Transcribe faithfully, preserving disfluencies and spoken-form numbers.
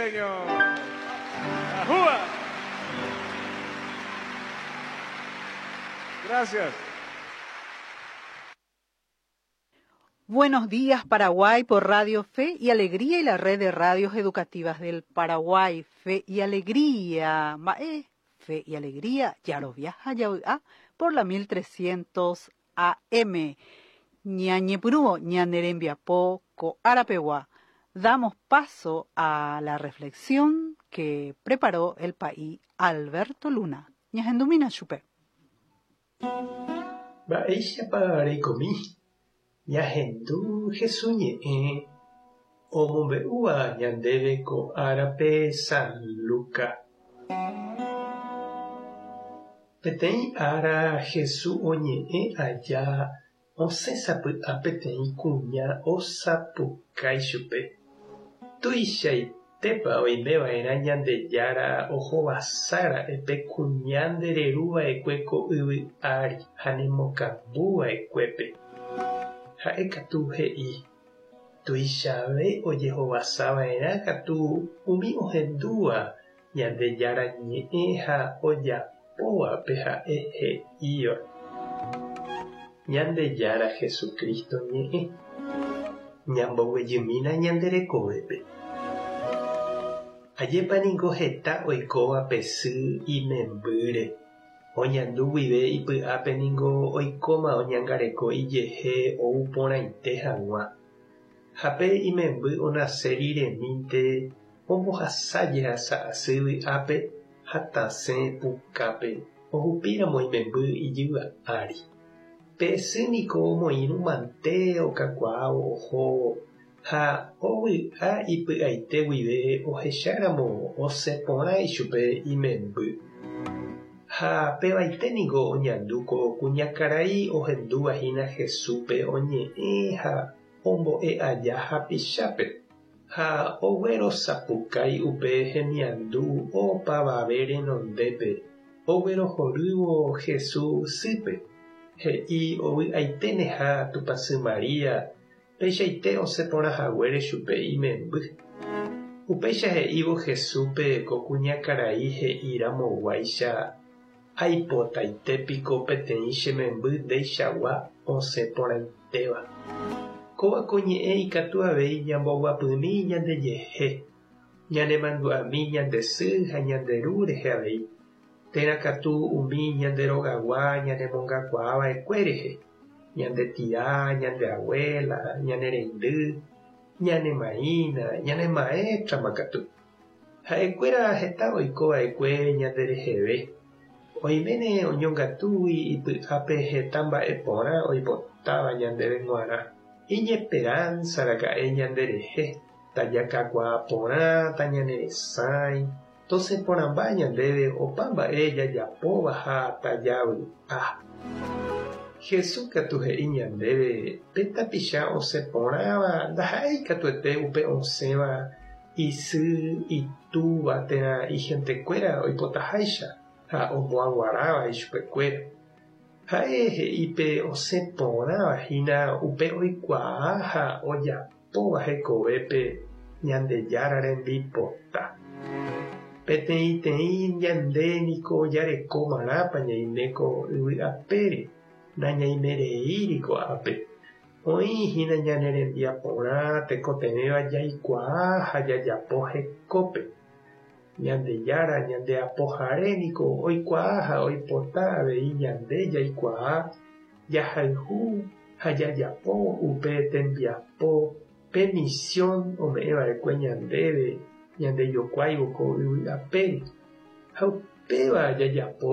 Señor. ¡Ajúa! Gracias. Buenos días, Paraguay, por Radio Fe y Alegría y la red de radios educativas del Paraguay. Fe y Alegría. Mae, Fe y Alegría, Yaroviaja, Yaoa, por la mil trescientos A M. Ñañepurúo, ñanerembiapó, coarapeguá. Damos paso a la reflexión que preparó el país Alberto Luna. Ñahendumina chupe. Mba'éichapa reikomi. Ñahendu Jesús ñe'ẽ omombe'úva ñandéve ko árape San Lucas. Peteĩ ára Jesús oñe'ẽ aja osẽ sapy'a peteĩ kuña osapukái chupe. Tuichaitépa oimeva'erã Ñandejára ohovasára'e pe kuña ndereruva'ekue ko yvy ári ha nemokambuva'ekuépe. Ha'e katu he'i, tuichave ojehovasava'erã katu umi ohendúva Ñandejára ñe'ẽ ha ojapóvape ha'e he'íva. Ñandejára Jesucristo ñe'ẽ. Ñamboguejymína ñande rekovépe. Ajépa niko heta oikóva pe sy imembýre. Oñandu guive ipy'ápe niko oikóma oñangareko ijehe ou porãite hag̃ua. Ha pe imemby onase riremínte ombohasa jehasa asy vy'ápe ha tasẽ pukápe ohupíramo imemby ijyva ári. Pe sy niko omoirũmante okakuaávo ohóvo ha ovy'a ipy'aite guive ohecháramo osẽ porã ichupe imemby. Ha pevaite niko oñandu ko kuñakarai ohendúvahína Jesúspe oñe'ẽ ha ombo'e aja hapichápe. Ha oguerosapukái upe hemiandu opavave renondépe oguerohorývo Jesús sýpe. He'i ovy'aiténeha Tupãsy Maria peichaite osẽ porã haguére chupe imemby. Upéicha he'ívo Jesúspe ko kuñakarai he'iramoguáicha aipotaitépiko peteĩ che memby ndeichagua osẽ porãitéva. Kóva ko ñe'ẽ ikatu avei ñamboguapymi ñandejehe, ñanemandu'ami ñande sy ha ñande ru rehe avei, térã katu umi ñande rogagua ñanemongakuaava'ekue rehe, ñande tia, ñande abuela, ñane reindy, ñane maína, ñane maestra katu. Ha'ekuéra heta oikova'ekue ñande reheve. Oiméne oñongatúgui ipy'ápe heta mba'e porã oipotáva ñandéve g̃uarã. Iñesperanza raka'e ñanderehe, tajakakuaa porã, tañaneresãi, tosẽ porãmba ñandéve opa mba'e jajapóva ha tajavy'a. Jesús katu he'i ñandéve pe tapicha osẽ porãva ndaha'éi katuete upe osẽva isy, itúva térã ihentekuéra oipotaháicha ha omboaguaráva ichupekuéra. Ha'e he'i pe osẽ porãvahína upe oikuaa ha ojapóva hekovépe Ñandejára rembipota. Peteĩteĩ ñande niko jarekomarãpa ñaime ko yvy apére, nañaimereíri ko'ápe. Oĩhína ñane rembiaporã tekotevẽva jaikuaa ha jajapo hekópe. Ñandejára ñande apohare niko oikuaa ha oipota avei ñande jaikuaa, jahayhu ha jajapo upe tembiapo pe misión ome'ẽva'ekue ñandéve ñandejokuáivo ko yvy apére. Ha upéva jajapo